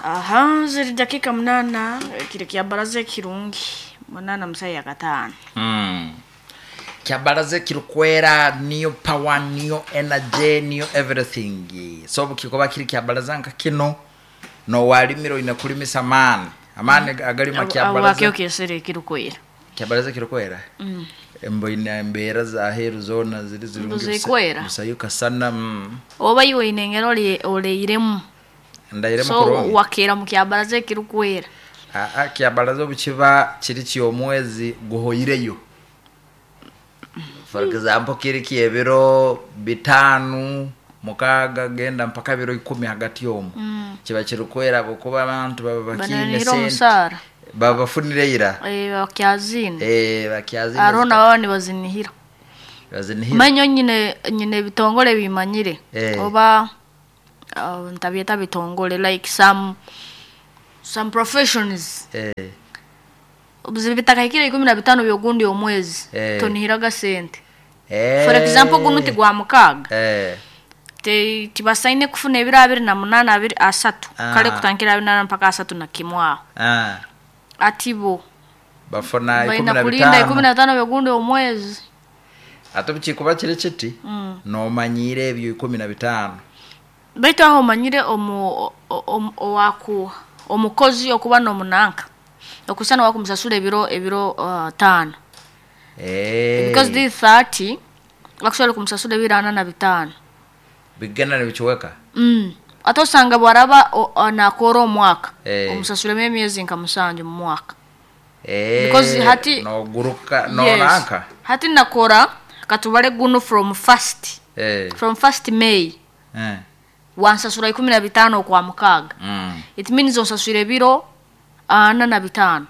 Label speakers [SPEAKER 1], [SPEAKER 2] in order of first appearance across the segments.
[SPEAKER 1] Aha, ziri dakika 8 kiri kya baraza ekirungi 8:05.
[SPEAKER 2] Kyabaraza kirikwera niyo power, niyo energy, niyo everything. So obu kikuba kiri kyabaraza nka kino nowalimire oine kulimisa amaani, amaani agalima
[SPEAKER 1] Abo
[SPEAKER 2] kyabaraza.
[SPEAKER 1] akyo kyesere ekirikwera.
[SPEAKER 2] Kyabaraza kirikwera, mboine embeera zaheeru zoona ziri zirungi.
[SPEAKER 1] Zikwera.
[SPEAKER 2] Busayo kasana.
[SPEAKER 1] Oba iwe oine engeri oleiremu.
[SPEAKER 2] Ndairemu
[SPEAKER 1] So
[SPEAKER 2] kurungi.
[SPEAKER 1] wakeera mu kyabaraza ekirikwera.
[SPEAKER 2] Aa, kyabaraza obukiba kiri kyomwezi guhoireyo, for example kiri kyebiro 5, 6 genda mpaka biro 10, hagati omwo kiba kirikwera habwokuba abantu baba bakiine
[SPEAKER 1] Bananihira
[SPEAKER 2] sente.
[SPEAKER 1] Omusaara.
[SPEAKER 2] Baba bafunire ira.
[SPEAKER 1] Eh, bakyazine.
[SPEAKER 2] Eh, bakyazine.
[SPEAKER 1] Aroho nababa nibazinihira.
[SPEAKER 2] Bazinihira.
[SPEAKER 1] Manyo nyine ebitongole bimanyire. Oba ntabyeta bitongole, like some professions. Obuzibu bitakahikire 15 byogundi omwezi. Tonihiraga sente. For example, gunu ti gwa 6. Tibasaine kufuna ebiro 28, 20, 30. Kale kutandikira 28 mpaka 31 aho. Ati bo
[SPEAKER 2] bafuna ikumi
[SPEAKER 1] baina
[SPEAKER 2] na
[SPEAKER 1] kulinda
[SPEAKER 2] bitaano.
[SPEAKER 1] 15 byogundi omwezi.
[SPEAKER 2] Ate bukikuba kiri kiti, nomanyire ebyo 15.
[SPEAKER 1] Baitu aho omanyire omu owaku omukozi okuba n'omunanka okusana wakumusasura ebiro 5. Because this 30 bakusobola kumusasura ebiro 45.
[SPEAKER 2] Bigenda nibikiweka.
[SPEAKER 1] Ate osanga bwaraba nakora omwaka, omusasuremu emyezi nka 7 mu mwaka. Because
[SPEAKER 2] Noguruka
[SPEAKER 1] Yes.
[SPEAKER 2] nonanka.
[SPEAKER 1] Hati nakora katubale guno from first from first May. Wansasura 15 okwa 6. It means onsasura ebiro 45.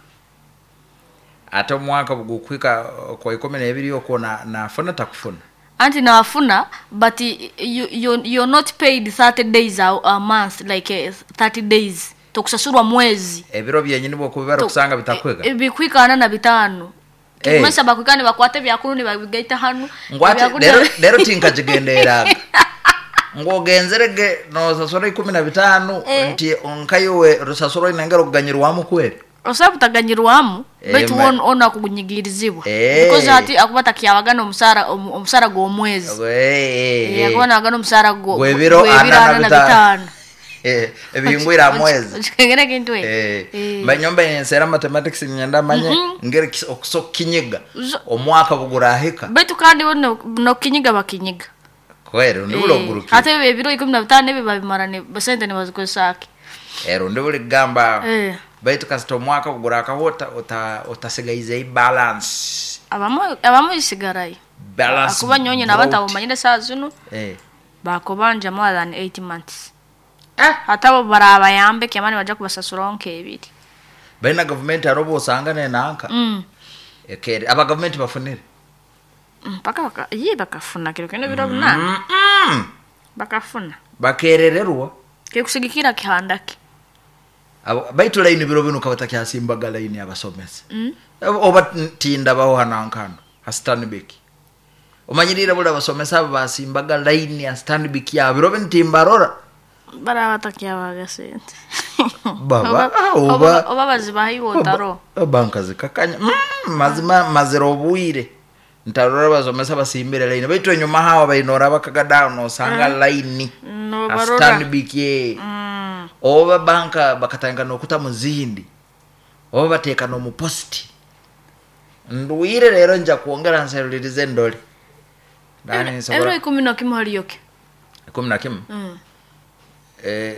[SPEAKER 2] Ate omwaka bugukwika kwa 12 okwo nafuna takufuna.
[SPEAKER 1] Anti nafuna, but you're not paid 30 days a month, like 30 days tokusasurwa mwezi.
[SPEAKER 2] Ebiro byenyini bwokubibara okusanga bitakwega.
[SPEAKER 1] Bikwika 45. Kikumanyisa bakwika nibakwata ebyakuru nibabigaita hanu.
[SPEAKER 2] Ngwate
[SPEAKER 1] ebyakuru
[SPEAKER 2] lero tinkakigendereraga ngwogenzerege nosasura 15. Nti onkayowe rusasura oine okuganyirwamu kweri.
[SPEAKER 1] Osobola kutaganyirwamu. Baitu ona kugunyigirizibwa. Because hati akuba takyabaga omusaara omusaara gw'omwezi. Akuba nabagana omusaara
[SPEAKER 2] Gw'ebiro
[SPEAKER 1] gw'ebiro
[SPEAKER 2] ana na
[SPEAKER 1] ana na
[SPEAKER 2] bitaano.
[SPEAKER 1] bitaano.
[SPEAKER 2] Ebihingwire mwezi.
[SPEAKER 1] Okikengera ekintu ekyo.
[SPEAKER 2] Mbanyomba ensera mathematics nyenda manye ngeri okusokinyiga omwaka bugurahika.
[SPEAKER 1] Baitu kandi bo nokinyiga bakinyiga.
[SPEAKER 2] Kweri undi buli ogurukire.
[SPEAKER 1] Ate ebyo ebiro 15 ebyo babimara ne sente nibazikozesa ki?
[SPEAKER 2] Rundi buli kugamba. Baitu kasita omwaka bugurakaho otasigaize balance.
[SPEAKER 1] Abamu isigarayo.
[SPEAKER 2] Balance
[SPEAKER 1] Akuba nyonyi naba
[SPEAKER 2] brought.
[SPEAKER 1] ntabumanyire saa zinu. Bakubanja more than 8 months. Ate abo barabayambe kyamani bajja kubasasuraho nk'ebiri.
[SPEAKER 2] Baina gavumenti hariho obwosanga nenanka. Ekere aba gavumenti bafunire.
[SPEAKER 1] Mpaka ye bakafuna kiro kino biro 8. Bakafuna.
[SPEAKER 2] Bakerererwa.
[SPEAKER 1] Kikusigikira kihandaki.
[SPEAKER 2] Baitu line biro binu kabatakyasimbaga line abasomesa. Oba tinda baho hanankano ha Stanbic. Omanyirire buli abasomesa abo basimbaga line ya Stanbic ya biro binu timbarora.
[SPEAKER 1] Baraba batakyabaga sente.
[SPEAKER 2] Baba,
[SPEAKER 1] Oba bazibaha iwe otaro.
[SPEAKER 2] Banka zikakanya. Mazima mazira obwire ntarora abasomesa basimbire line, baitu enyuma hawa bainora bakaga down osanga line
[SPEAKER 1] No
[SPEAKER 2] ha
[SPEAKER 1] barora.
[SPEAKER 2] Stanbic ye. Oba banka bakatanga nokuta muzindi oba bateeka n'omupositi. Ndwire rero nja kwongera nserulirize endole. Ndani
[SPEAKER 1] Ebiro
[SPEAKER 2] nsobora
[SPEAKER 1] 11 hariyoke.
[SPEAKER 2] 11.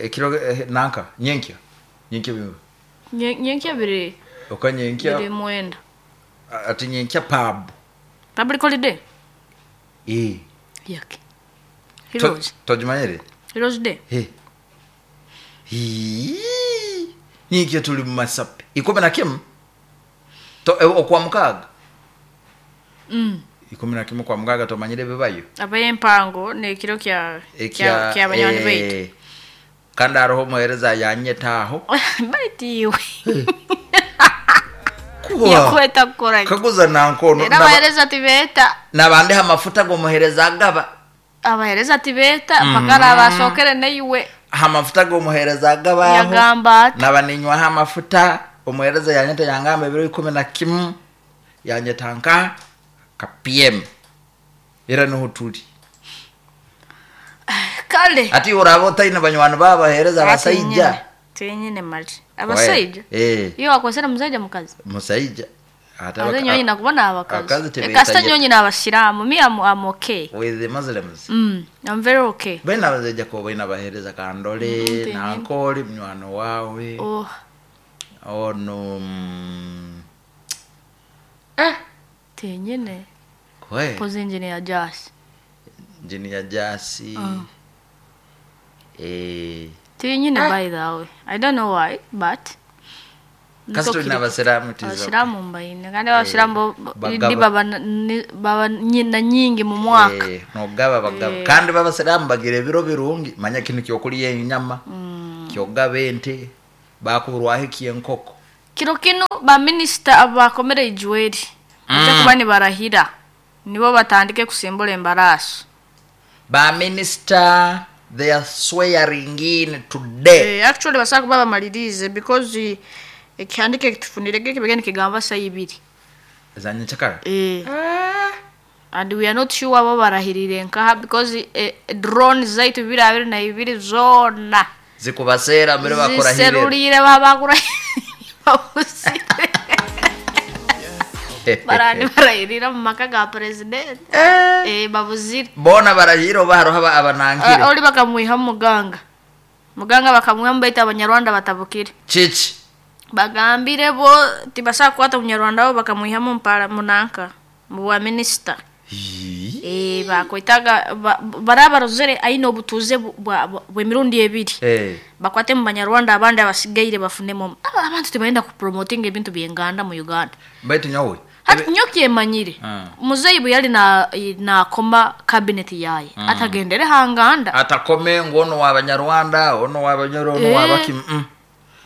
[SPEAKER 2] Ekiro nanka nyenkya bimwe.
[SPEAKER 1] Nyenkya biri
[SPEAKER 2] Oka nyenkya.
[SPEAKER 1] biri 9.
[SPEAKER 2] Ati nyenkya pub.
[SPEAKER 1] Public holiday. Yake. Heroes.
[SPEAKER 2] Tojimanyire.
[SPEAKER 1] Heroes Day.
[SPEAKER 2] Hii. Nyenkya tuli mu masape 11 okwa 6. 11 kwa 6 tomanyire bibayo.
[SPEAKER 1] Abayempango nekiro kya kya banywani baitu.
[SPEAKER 2] Kandi hariho omuheereza yanyetaaho.
[SPEAKER 1] Baitu iwe.
[SPEAKER 2] Kuba.
[SPEAKER 1] Yakweta kukora ki?
[SPEAKER 2] Kaguza nankono.
[SPEAKER 1] Era abahereza tibeta.
[SPEAKER 2] Nabandiha amafuta g'omuheereza agaba.
[SPEAKER 1] Abahereza tibeta mpaka arabasookere neiwe.
[SPEAKER 2] Amafuta g'omuheereza agabaho.
[SPEAKER 1] Yagamba ati
[SPEAKER 2] Naba ninywaho amafuta, omuheereza yanyeta yangamba ebiro 11, yanyeta nka ka PM. Era niho tuli.
[SPEAKER 1] Kale.
[SPEAKER 2] Ati oraba otaine banywani babo abaheereza abasaija.
[SPEAKER 1] Twenyine mali. Abasaija?
[SPEAKER 2] Eh.
[SPEAKER 1] Iyo wakwesera musaija mukazi?
[SPEAKER 2] Musaija. Ate
[SPEAKER 1] Ate nyonyi nakubona abakazi.
[SPEAKER 2] Abakazi tebeeta
[SPEAKER 1] Kasita nyonyi n'abasiraamu. Me I'm okay.
[SPEAKER 2] With the Muslims.
[SPEAKER 1] I'm very okay.
[SPEAKER 2] Baina abazaija ko baina abaheereza kandole,
[SPEAKER 1] Mm,
[SPEAKER 2] nankoli munywani wawe.
[SPEAKER 1] Oh.
[SPEAKER 2] Ono
[SPEAKER 1] Tenyine.
[SPEAKER 2] Kwe.
[SPEAKER 1] Pozi engineer Jasi.
[SPEAKER 2] Engineer Jasi.
[SPEAKER 1] Tenyine by the way. I don't know why, but
[SPEAKER 2] Kasi tulina abasiraamu tizo.
[SPEAKER 1] Abasiraamu mbaine. Kandi abasiraamu
[SPEAKER 2] Bagaba.
[SPEAKER 1] ni baba na nyingi mu mwaka.
[SPEAKER 2] Nogaba bagaba. Kandi babasiraamu bagira ebiro birungi. Manya kinu kyokulya enyama. Kyogaba ente. Bakuburwaho eky'enkoko.
[SPEAKER 1] Kiro kino ba minister abakomere Ijweri. Bajja kuba nibarahira. Nibo batandike kusimbula embaraasi.
[SPEAKER 2] Ba minister they are swearing in today.
[SPEAKER 1] Actually basaba kuba bamalirize because ekihandike kitufunirege kibigende kigamba saa ibiri.
[SPEAKER 2] Zanye chakara.
[SPEAKER 1] And we are not sure abo barahirire nkaha because drone zaitu bibiri abiri na ibiri zona
[SPEAKER 2] Zikubaseera mbere bakurahirire.
[SPEAKER 1] Ziserulire babakura. Barani barahirira mu maka ga president. Babuzire.
[SPEAKER 2] Bona barahira oba hariho abanankire.
[SPEAKER 1] Oli bakamwiha muganga. Muganga bakamwiha baita abanyarwanda batabukire.
[SPEAKER 2] Chichi.
[SPEAKER 1] Bagambire bo tibasaba kukwata omunyarwanda bo bakamwihamu mpara munanka mu bwa minister. Bakwitaga barabarozere aine obutuuze bw'emirundi ebiri. Bakwate mu banyarwanda abandi abasigaire bafunemu. Abantu tibayenda kupromoting ebintu by'enganda mu Uganda.
[SPEAKER 2] Baitu nyowe.
[SPEAKER 1] Hati nyoki emanyire. Muzeyi bwe yali na koma cabinet yaye. Atagendere hanganda.
[SPEAKER 2] Atakome ngono wa banyarwanda, ono wa banyoro, ono wa baki.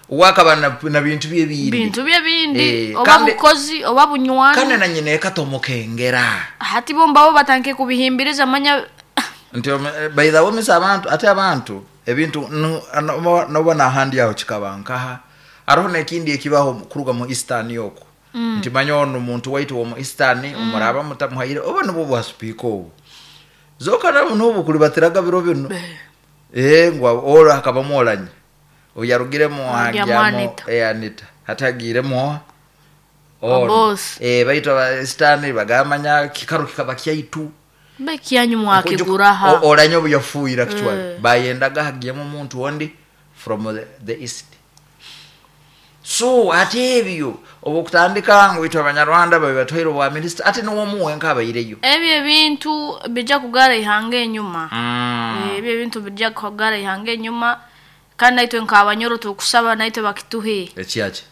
[SPEAKER 2] Wakaba na bintu bye bindi.
[SPEAKER 1] Bintu bye bindi. Oba bukozi, oba bunywani.
[SPEAKER 2] Kandi na nyine katomukengera.
[SPEAKER 1] Hati bo mbabo batanke kubihimbiriza manya.
[SPEAKER 2] Nti by the way misa abantu, ate abantu ebintu nobona handi yaho kikabankaha. Aroho nekindi ekibaho kuruga mu Eastern yoko. Nti manya ono muntu waitu wo mu Eastern umuraba mutamuhaire oba nubwo bwa speaker obu. Zoka nabo nubu kulibatiraga biro bino. Ngwa ora hakabamolanye. Oyarugiremo hajyamo Anita hatagiremo
[SPEAKER 1] boss.
[SPEAKER 2] Baitwa ba Eastern bagamanya kikaru kikaba kyaitu
[SPEAKER 1] bekiyanyu mwakiguraha
[SPEAKER 2] oranyo buyafuira kichwa bayendaga hagiyemo omuntu ondi from the east. So ate ebyo obukutandika ngo itwa abanyarwanda babatwaire obwa minister ate niwo muwe nkabayireyo.
[SPEAKER 1] Ebyo ebintu bijja kugara ihanga enyuma. Ebyo ebintu bijja kugara ihanga enyuma. Kandi naitwe nk'abanyoro tukusaba naitwe bakituhe.
[SPEAKER 2] Ekiaki?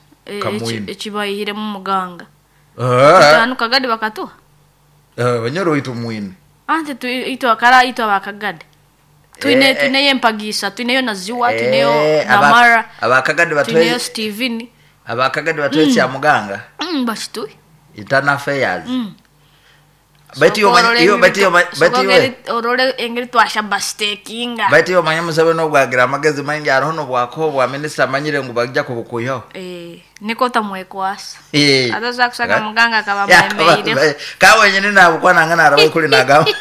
[SPEAKER 2] Kamwini.
[SPEAKER 1] Ekibayihiremu muganga. Tanu kagadi bakatuha.
[SPEAKER 2] Banyoro itu mwini.
[SPEAKER 1] Ante itwe akara itwe abakagadi. Twine tuneyo empagisa, tuneyo naziwa, tuneyo namara.
[SPEAKER 2] Abakagadi batwe.
[SPEAKER 1] Tuneyo Steven.
[SPEAKER 2] Abakagadi batwe kya muganga.
[SPEAKER 1] Bakituhe.
[SPEAKER 2] Internal affairs. Baitu yo baitu
[SPEAKER 1] orole engeri twasha bastekinga.
[SPEAKER 2] Baitu yo manya musabe no bwagira amagezi maingi aroho no bwako bwa minister manyire ngo bajja kubukuyo.
[SPEAKER 1] Niko tamwekwasa. Ataza kusaka muganga akaba mwemeire.
[SPEAKER 2] Ka wenyine nabukwa nangana arabaye kuri nagamba.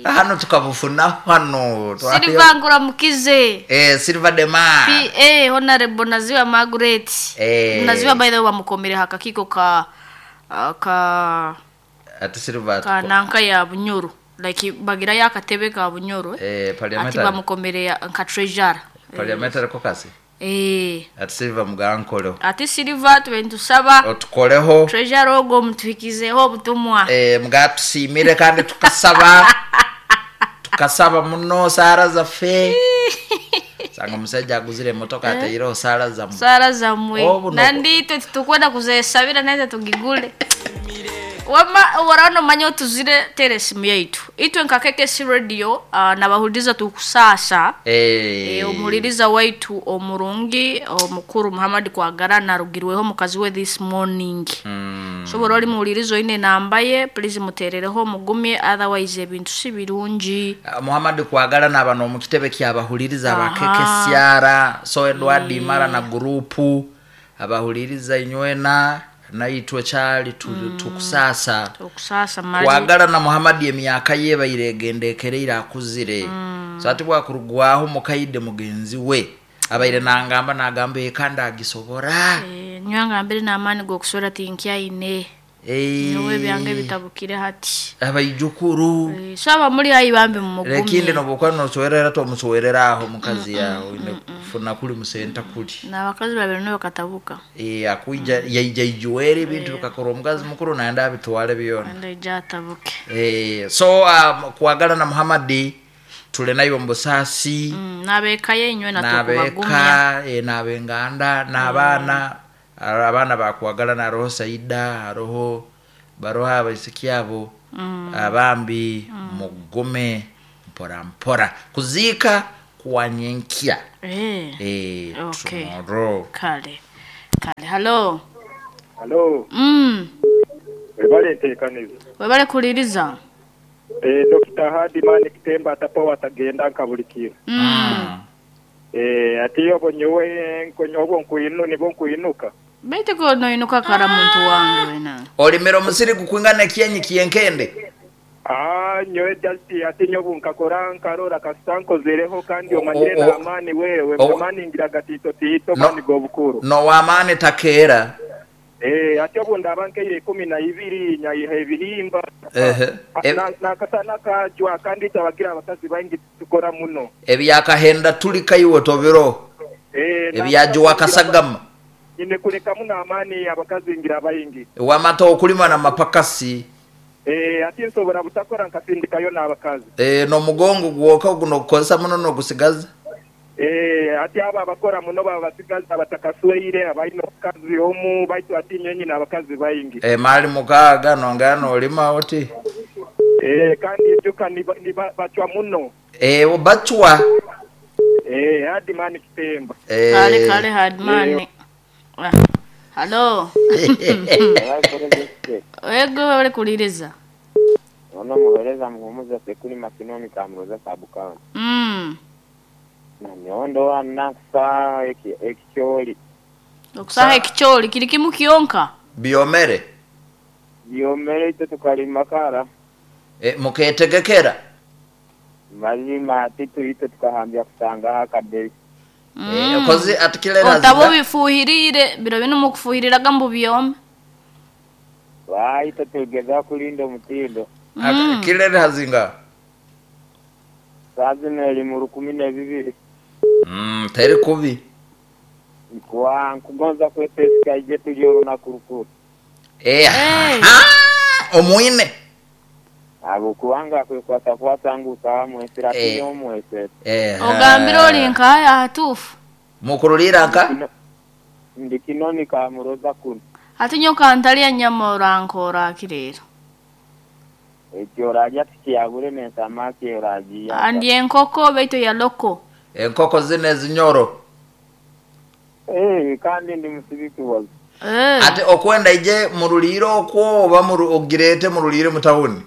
[SPEAKER 2] Hano tukabufuna hano.
[SPEAKER 1] Silva ngura mukize.
[SPEAKER 2] Silva Dema.
[SPEAKER 1] PA Honorable Naziwa Margaret. Naziwa by the way bamukomere hakakiko ka ka
[SPEAKER 2] ati Silva
[SPEAKER 1] ka nanka ya Bunyoro like bagira yakatebe ka Bunyoro.
[SPEAKER 2] Parliamentary
[SPEAKER 1] ati bamukomere nka treasurer.
[SPEAKER 2] Parliamentary caucus. Ati Silva mugankoleho.
[SPEAKER 1] Ati Silva twentusaba
[SPEAKER 2] otukoleho
[SPEAKER 1] treasurer ogo mutwikizeho obutumwa.
[SPEAKER 2] Mugatusimire kandi tukasaba. Tukasaba muno sara zaffe. Sanga musajja aguzire emotoka ateireho sara zammwe.
[SPEAKER 1] Sara zammwe. Nandi itwe titukwenda kuzesabira naye tugigule. Wama warano manya otuzire tera esimu yaitu itwe nka KKC Radio, nabahuliza tukusasa. Omuhuliriza waitu omurungi omukuru Muhammad Kwagara narugirweho mukazi we this morning. Sobora oli muhuliriza oine namba ye, please muterereho mugumye, otherwise ebintu si birungi.
[SPEAKER 2] Muhammad Kwagala naba n'omukitebe kyabahuliriza aba KKCR, so Edward Imara na gurupu abahuliriza inywena naitwe kyali tukusasa.
[SPEAKER 1] Tukusasa mali.
[SPEAKER 2] Kwagala na Muhammad emyaka ye baire egendekereire akuzire. So ati bwakurugwaho mukaide mugenzi we abaire nangamba nagamba kandi agisobora.
[SPEAKER 1] Nywanga mbere n'amaani g'okuswera tinkyaine. Nyowe byange bitabukire hati.
[SPEAKER 2] Abaijukuru.
[SPEAKER 1] Saba muri hayi bambi mumugumye.
[SPEAKER 2] Lekindi nobukwa noswerera tomuswerera aho mukazi yawe ine kufuna kuli musenta kuli.
[SPEAKER 1] N'abakazi babiri nibo katabuka.
[SPEAKER 2] Akuija yaija ijuwere ebintu bikakora omukazi mukuru naenda abitwale byona.
[SPEAKER 1] Naenda ija atabuke.
[SPEAKER 2] So Kwagala na Muhammad tule nayo mbusasi.
[SPEAKER 1] N'abeka ye inywe natukubagumya.
[SPEAKER 2] N'abeka n'abenganda n'abaana. Abaana bakwagala na roho Saida roho baroha abaisiki abo abambi mugume mpora mpora kuzika kuwanyenkia.
[SPEAKER 1] Okay.
[SPEAKER 2] Tomorrow.
[SPEAKER 1] Kale kale. Hello.
[SPEAKER 3] Hello. Webale nteekaniza.
[SPEAKER 1] Webale kuliriza.
[SPEAKER 3] Dr. Hadi Mani Kitemba atapowa atagenda nka buli kiro. Ati yobo nyowe nkonyobo nkuinu nibo nkuinuka.
[SPEAKER 1] Baitu ko noinuka kara muntu wange wena.
[SPEAKER 2] Olimera omusiri gukwingana kienyi kienkende.
[SPEAKER 3] Nyowe just ati nyobu nkakora nkarora kasankozereho kandi omanyire na amani wewe amani ngira gatito tito mani gobukuru.
[SPEAKER 2] No wamani takera.
[SPEAKER 3] Ati obu ndaba nkeire 12 nyayiha ebihimba. Nakasana kajwa kandi tabagira abakazi baingi tukora muno.
[SPEAKER 2] Ebyakahenda tulika iwe tobiro. Ebyajwa kasagama.
[SPEAKER 3] Ine kuleka muno amani abakazi ngira baingi.
[SPEAKER 2] Wamata okulima na mapakasi.
[SPEAKER 3] Ati nsobora butakora nkasindikayo n'abakazi.
[SPEAKER 2] No mugongo gwoka guno kukozesa muno no gusigaza.
[SPEAKER 3] Ati aba abakora muno babasigaza batakasweire abaino kazi omu baitu ati nyenyi n'abakazi baingi.
[SPEAKER 2] Mali mukaga nongana olima oti.
[SPEAKER 3] Kandi ejuka ni bachwa muno.
[SPEAKER 2] Bachwa.
[SPEAKER 3] Hadi Mani Kitemba.
[SPEAKER 1] Kale kale Hadi Mani. Hello. Ego wale kuliriza.
[SPEAKER 4] Ono muhereza muhumuza sekuli makinomi kamuroza sabukana. Na miondo anasa ekicholi.
[SPEAKER 1] Okusaha ekicholi kiri kimu kionka.
[SPEAKER 2] Biomere.
[SPEAKER 4] Biomere ito tukalima kara.
[SPEAKER 2] Muketegekera.
[SPEAKER 4] Mazima atitu ito tukahambia kusanga akadei.
[SPEAKER 2] Kozi atikilera
[SPEAKER 1] otabo bifuhirire biro bino mukufuhirira gambo byome.
[SPEAKER 4] Waita tugeza kulinda mutindo.
[SPEAKER 2] Kilera hazinga.
[SPEAKER 4] Sazina elimu 12.
[SPEAKER 2] Teri kubi.
[SPEAKER 4] Kwa nkugonza kwetesika ije tulio na kurukuru.
[SPEAKER 2] Omuine.
[SPEAKER 4] Abo kuwanga kwekwata kwata ngu samu esira kinyo mwese.
[SPEAKER 1] Ogambira oli nkaya hatufu.
[SPEAKER 2] Mukurulira nka?
[SPEAKER 4] Ndi kinoni ka muroza kuno.
[SPEAKER 1] Ati nyoka ntalia nyama orankora kirero.
[SPEAKER 4] Ekyo oraja tikiyagure n'ensamaki oragiya.
[SPEAKER 1] Andi enkoko baitu ya loko.
[SPEAKER 2] Enkoko zine zinyoro.
[SPEAKER 4] Kandi ndi musibiki wazo.
[SPEAKER 2] Ate okwenda ije muruliro okwo oba ogirete murulire mutawuni.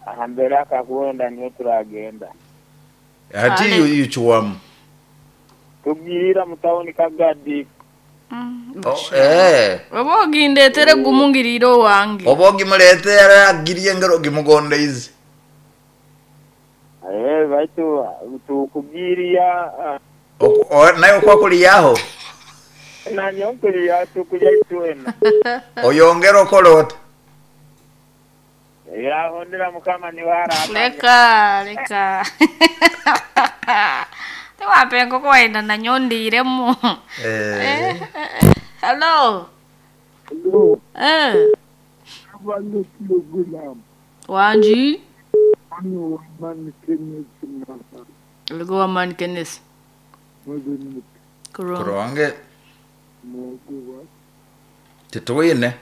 [SPEAKER 4] Ahambere akakwenda niyo turagenda.
[SPEAKER 2] Ati yuchuwamu.
[SPEAKER 4] Tugirira mutawuni kagadi.
[SPEAKER 1] Oba ogindetere gumungiriro wange.
[SPEAKER 2] Oba ogimuletere agiriye ngero gimugonde izi.
[SPEAKER 4] Baitu tukugiria.
[SPEAKER 2] Nayo kwa kuliyaho.
[SPEAKER 4] Na nyonkuli tukulya itwena.
[SPEAKER 2] Oyongera okolota.
[SPEAKER 4] Yahondera mukama ni wara.
[SPEAKER 1] Leka leka. Tewape enkoko waenda na nyondiremu. Hello.
[SPEAKER 5] Hello.
[SPEAKER 1] Wanji. Lugo wa man Kenneth.
[SPEAKER 2] Kuronge. Tituine.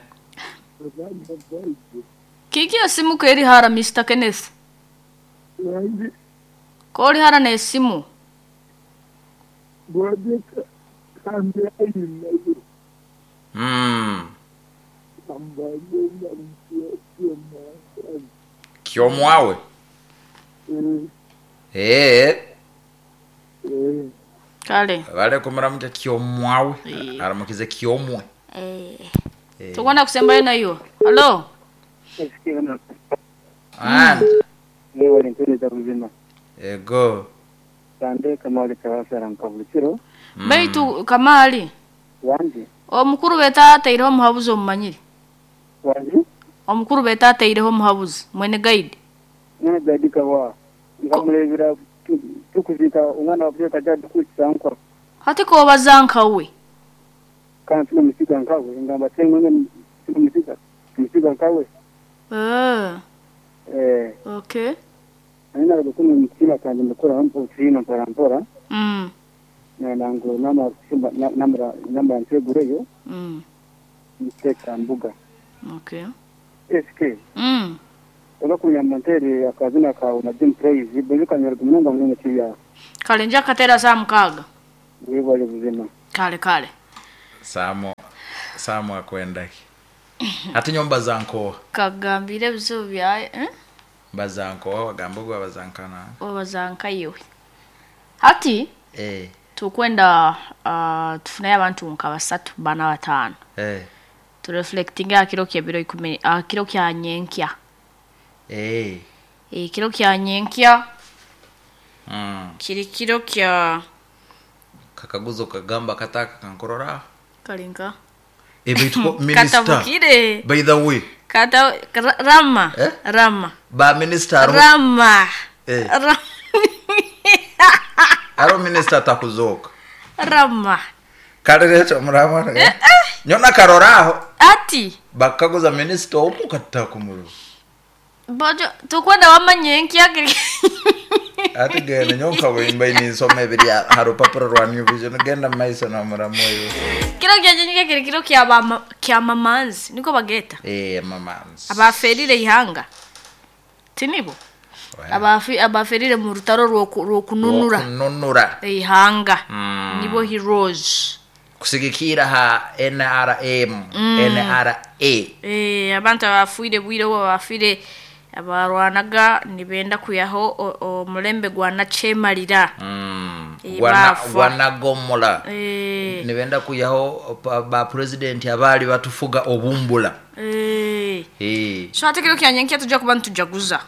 [SPEAKER 1] Kiki esimu keri hara Mr. Kenneth? Kori hara n'esimu?
[SPEAKER 2] Kyomwawe.
[SPEAKER 1] Kale.
[SPEAKER 2] Bale kumuramuka kyomwawe. Aramukize kyomwe.
[SPEAKER 1] Tugwana kusembayo nayo. Hello.
[SPEAKER 2] And
[SPEAKER 4] Lewa lintuliza buzima.
[SPEAKER 2] Ego.
[SPEAKER 4] Sande Kamali Kawasara nkabulukiro.
[SPEAKER 1] Baitu Kamali.
[SPEAKER 4] Wanji.
[SPEAKER 1] Omukuru betateireho omuhabuzi omumanyire.
[SPEAKER 4] Wanji.
[SPEAKER 1] Omukuru betateireho omuhabuzi mwene guide.
[SPEAKER 4] Mwene guide kawa. Ngamulebera tukuzika umwana wa Afrika jadi kuchisankwa.
[SPEAKER 1] Hati ko bazanka we.
[SPEAKER 4] Kana tuna musika nkawe ngamba tengwe tuna musika. Musika nkawe.
[SPEAKER 1] Okay.
[SPEAKER 4] Nina gukuma mutima kandi ndakora hampo tsino mpora mpora. Na nango nama namra namba ntegureyo. Mteka mbuga.
[SPEAKER 1] Okay.
[SPEAKER 4] SK. Obakunya montere akazina ka na Jim Praise bezuka nyarwa munonga munonga kiya.
[SPEAKER 1] Kale nja katera saa 6.
[SPEAKER 4] Wewe buzima.
[SPEAKER 1] Kale kale.
[SPEAKER 2] Samo akwendaki. Ati nyomba zanko.
[SPEAKER 1] Kagambire bizibu bya
[SPEAKER 2] Bazanko wagamba gwa bazankana.
[SPEAKER 1] Obazanka yiwe. Hati tukwenda tufunayo abantu nka 3 4 5. Tureflectinga akiro kya biro 10 akiro kya nyenkya. Kiro kya nyenkya. Kiri kiro kya
[SPEAKER 2] kakaguzo kagamba kataka kankorora.
[SPEAKER 1] Kalinka.
[SPEAKER 2] Ebituko minister.
[SPEAKER 1] Katabukire.
[SPEAKER 2] By the way.
[SPEAKER 1] Kata Rama. Rama.
[SPEAKER 2] Ba minister
[SPEAKER 1] Rama. Rama.
[SPEAKER 2] Aro minister takuzoka.
[SPEAKER 1] Rama.
[SPEAKER 2] Kalerecho murama. Nyona karoraho.
[SPEAKER 1] Ati.
[SPEAKER 2] Bakaguza minister omu katakumuru.
[SPEAKER 1] Bojo tukwenda wamanyenki yake.
[SPEAKER 2] Ati genda nyonka wimba inisoma ebiri harupapuro rwa New Vision genda maiso na muramu oyo.
[SPEAKER 1] Kiro kya nyenki kiri kiro kya kya mamanzi niko bageta.
[SPEAKER 2] Mamanzi.
[SPEAKER 1] Abaferire ihanga. Tinibo. Abaferire mu rutaro rwo kununura.
[SPEAKER 2] Kununura.
[SPEAKER 1] Ihanga. Nibo heroes.
[SPEAKER 2] Kusigikira ha NRM, NRA.
[SPEAKER 1] Abantu abafuire bwire bo abafire abarwanaga nibenda kuyaho omulembe gwa nachemalira.
[SPEAKER 2] Gwana gomola. Nibenda kuyaho ba president abali batufuga obumbula.
[SPEAKER 1] So ate kiro kyanyenkia tujja kuba ntujaguza.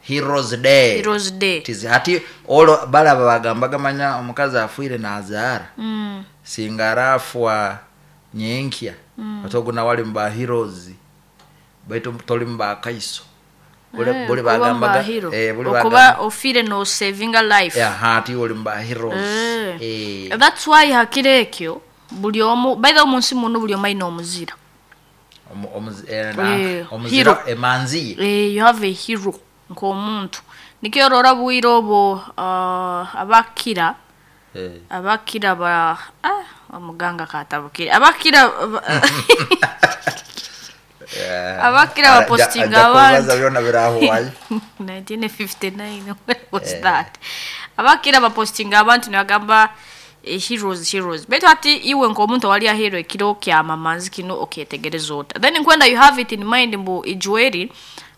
[SPEAKER 2] Heroes Day.
[SPEAKER 1] Heroes Day.
[SPEAKER 2] Tizi hati olo balaba bagambaga manya omukazi afuire nazaara. Singa arafwa nyenkya. Atoguna wali mba heroes. Baitu toli mba kaiso. Bule bagambaga
[SPEAKER 1] bule okuba ofire no saving a life.
[SPEAKER 2] Hati oli mba heroes.
[SPEAKER 1] That's why hakire ekyo buli omu by the omunsi muno buli omu omuzira.
[SPEAKER 2] Omuzira emanzi.
[SPEAKER 1] You have a hero nk'omuntu. Nikyo rora bwire obo abakira abakira ba omuganga katabukire abakira abakira bapostinga abantu 1959 was that abakira bapostinga abantu nibagamba heroes betu ati iwe nk'omuntu wali a hero ekiro kya mamanzi kino oketegereza ota then nkwenda you have it in mind mbu ijueri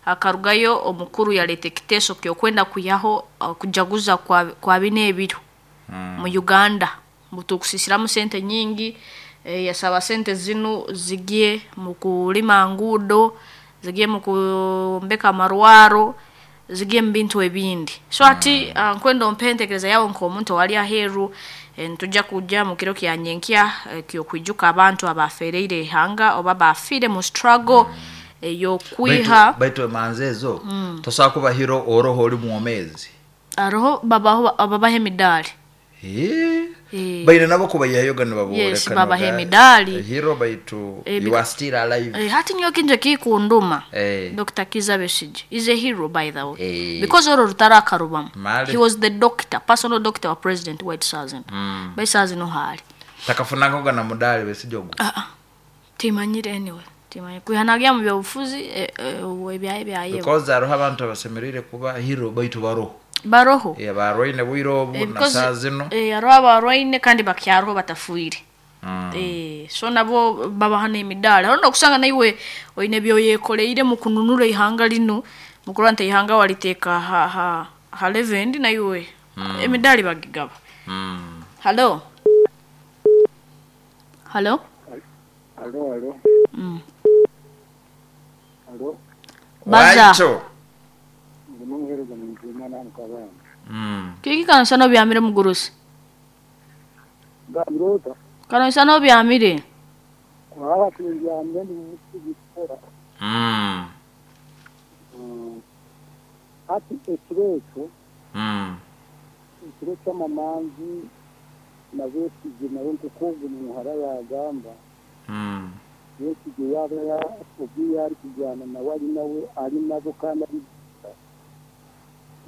[SPEAKER 1] akarugayo omukuru yaleta ekiteeso kyokwenda kuyaho kujaguza kwa bine ebiro mu Uganda mutukusisiramu sente nyingi yasaba sente zinu zigie mu kulima ngudo zigie mu kumbeka marwaro zigie mu bintu ebindi so ati nkwenda ompentekereza yawo nk'omuntu wali aheru ntujja kujja mu kiro kya nyenkya kyokwijuka abantu abafereire ihanga oba bafire mu struggle yokwiha
[SPEAKER 2] baitu emanzi ezo tosobola kuba hero oroho oli mwomezi
[SPEAKER 1] aroho babaho ababaha emidali
[SPEAKER 2] baine nabo kubayihayoga nibaboleka
[SPEAKER 1] yes babaha emidali
[SPEAKER 2] hero baitu you are still alive
[SPEAKER 1] hati nyo kinje kikunduma Dr. Kiza Besigye is a hero by the way because oro rutara akarubamu he was the doctor personal doctor wa President White Sazin mm. Sazin no hali
[SPEAKER 2] takafunangoga na mudali Besigye ogo
[SPEAKER 1] timanyire anyway Timanye kwiha nagya mu byobufuzi ebyaye byayewe.
[SPEAKER 2] Because hariho abantu abasemereire kuba hero baitu baroho.
[SPEAKER 1] Baroho.
[SPEAKER 2] Barwaine bwire obu na saa zino.
[SPEAKER 1] Hariho abarwaine kandi bakyaroho batafuire. So nabo babaha n'emidaali. Hariho n'okusanga naiwe oine ebyoyekoreire mu kununura ihanga linu, mukurora nti ihanga waliteeka ha level naiwe emidaali bagigaba. Hello. Hello.
[SPEAKER 4] Hello, hello. Hello.
[SPEAKER 1] Baza. Kiki kanisa no byamire mugurusi?
[SPEAKER 4] Gambirota.
[SPEAKER 1] Kanisa no byamire.
[SPEAKER 4] Kwa byamire ndi Ati ekirecho. Ekirecho mamanzi na Besigye nawe nkuko muhara yagamba. Besigye yaba obi yari kujyana nawe ari nawe ari nabo kandi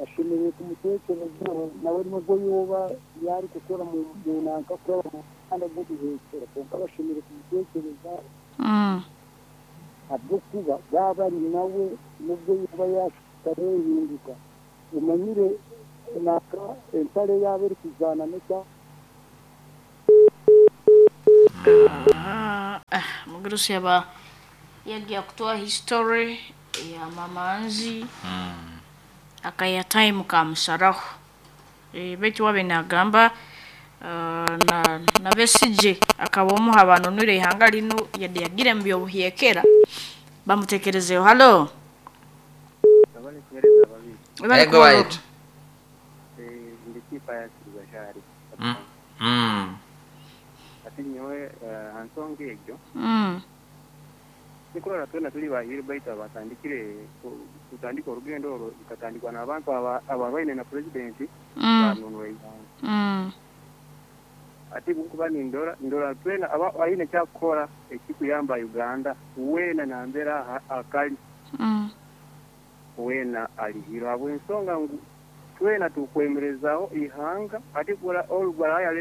[SPEAKER 4] ashemereire kumutekereza nawe nubwo yoba yari gukora mu nanka kuri abana b'ubuhekera konka bashemereire kumutekereza habwokuba baba ari nawe nubwo yoba yashikarehinduka umanyire naka entare yaba eri kujyana n'icya
[SPEAKER 1] Mugurusi yaba yagiye kutoa history ya mamanzi akaya time kamusaraho. Betu wabe nagamba na Besigye akaba omuha abantu nure ihanga lino yade yagire mu byobuhyekera bamutekerezeho. Hello.
[SPEAKER 2] Ego wait.
[SPEAKER 3] Ndikipa ya Kigashari. Ati nyowe hansonga egyo. Nikurora twena tuli bahiri baitu abatandikire kutandika orugendo orwo rukatandikwa n'abantu abarwaine na president banunura ihanga. Ati kuba nindora ndora twena aba aine kyakukora ekikuyamba Uganda wena nambera akali wena alihiro habw'ensonga ngu twena tukwemerezaho ihanga. Ati kura olugwara ya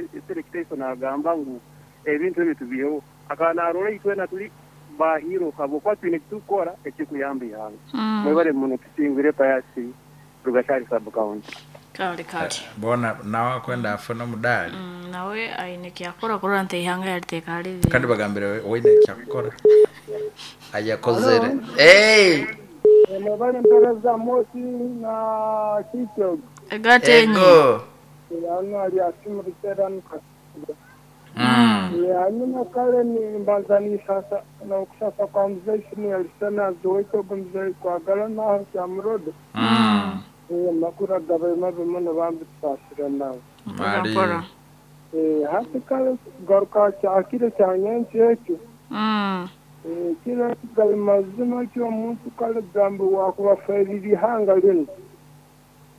[SPEAKER 3] nagamba ngu ebintu ebyo tubiheho akana arora itwena tuli bahiro habwokuba twine tukora ekikuyamba ihanga. Mwebale muno tusingire payasi Rugashari sub county.
[SPEAKER 1] Kale kale.
[SPEAKER 2] Bona nawe akwenda afuna mudali.
[SPEAKER 1] Nawe aine kyakora kurora nti ihanga yaliteka hali.
[SPEAKER 2] Kandi bagambire oine kyakora. Ayakozere. Hey!
[SPEAKER 4] Mwebale mpereza mosi na kityo.
[SPEAKER 1] Egatenyi.
[SPEAKER 4] Yano ali asimurutera nukasiga. Hanyuma kale ni mbanza sasa na okusasa kwa mzee sini alisema zoito mzee kwagala na kyamurodo. Makura gabe mabe muno bambi tusasira nawe. Hati kale garuka kyakire kyanyensi ekyo. Kira gali mazima ky'omuntu kale gambi wakubaferira ihanga lino.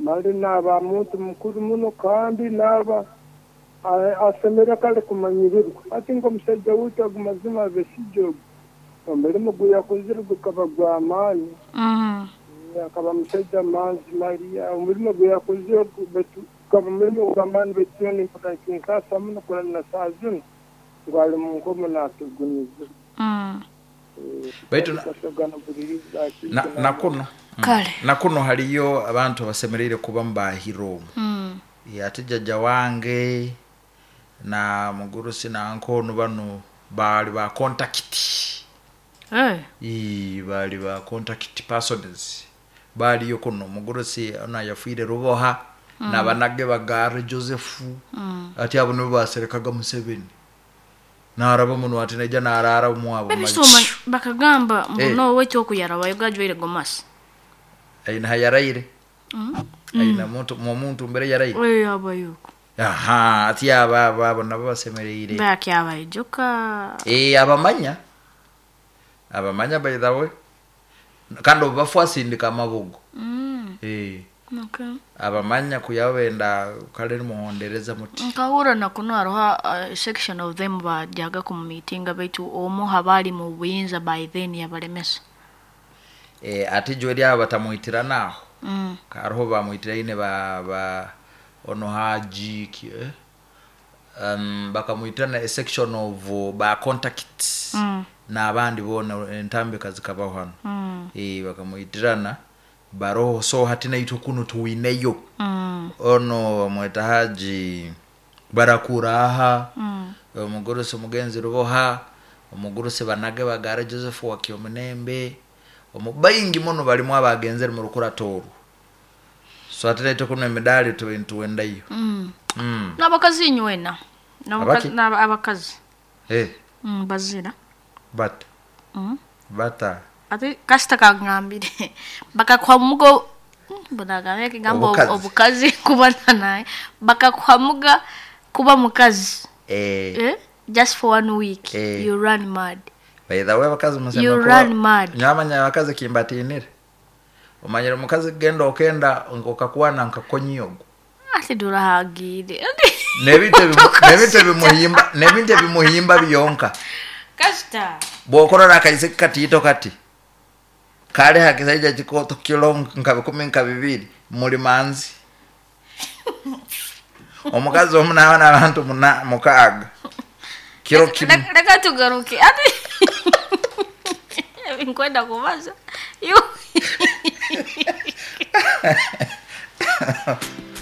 [SPEAKER 4] Mali n'aba muntu mukuru muno kandi n'aba asemera kale kumanyirirwa. Ati ng'omusajja waitu agu mazima Besigye omulimu gu yakozire gukaba gw'amaani. Akaba musajja manzi Maria omulimu gu yakozire gukaba mulimu gw'amaani baitu nimpakankinkasa muno kurana saa zino ngu ali mu nkomo naatuguniza.
[SPEAKER 2] Baitu nakuno nakuno haliyo abantu abasemereire kuba mbahiro. Ati jjajja wange na mugurusi na nkono bano bali ba contact. Bali ba contact persons. Baliyo kuno mugurusi ona yafuire Ruboha na banage bagare Joseph. Ati abo nibo baserekaga Museveni. Naraba muno ati neja narara mwabo.
[SPEAKER 1] Bakagamba mbuno wetu okuyaraba yogajwire gomasi.
[SPEAKER 2] Aina hayaraire. Aina muntu mbere yaraire.
[SPEAKER 1] Abayuko.
[SPEAKER 2] Aha, ati aba abo nabo basemereire.
[SPEAKER 1] Bakyabayijuka.
[SPEAKER 2] Abamanya. Abamanya by the way. Kandi obafwasindika amabugo.
[SPEAKER 1] Okay.
[SPEAKER 2] Abamanya kuyabenda kale muhondereza muti.
[SPEAKER 1] Nkahura na kuno hariho section of them bajaga ku meeting baitu omu habali mu buyinza by then yabalemesa.
[SPEAKER 2] Ati jwe lyaba batamuitira naho. Hariho bamuitira ine ba ono haji ki Bakamwitirana a section of ba contacts n'abandi boona, entambika zikabaho hano. Bakamwitirana baroho. So hati naitwe kunu tuwineyo ono bamweta Haji Barakuraha, omugurusi Mugenzi Ruboha, omugurusi Banage Bagara Joseph Wakyomunembe, baingi muno balimu abagenzere mu rukurato orwo. So ate naitwe kuno emidaali tube nituwendayo.
[SPEAKER 1] N'abakazi inywena.
[SPEAKER 2] Abaki?
[SPEAKER 1] Abakazi. Bazira.
[SPEAKER 2] Bata bata.
[SPEAKER 1] Ate kasita kagambire bakakuhamuga mbonagambye ekigambo.
[SPEAKER 2] Obukazi.
[SPEAKER 1] Obukazi kuba naye bakakuhamuga kuba mukazi. Eh? Just for one week. You run mad.
[SPEAKER 2] By the way, abakazi musema
[SPEAKER 1] You run mad.
[SPEAKER 2] Nyamanya abakazi kimbatinire, omanyire omukazi genda okenda okakwana nkakonyogo.
[SPEAKER 1] Ate durahagire.
[SPEAKER 2] Nebintu nebintu ebimuhimba byonka.
[SPEAKER 1] Kasita.
[SPEAKER 2] Bwokorora akaise katiito kati kali hakisaija kikoto kilo nka 12 muli manzi, omukazi omu naaba n'abantu 6 kiro kimu.
[SPEAKER 1] Leka tugaruke ate nkwenda kubaza. You.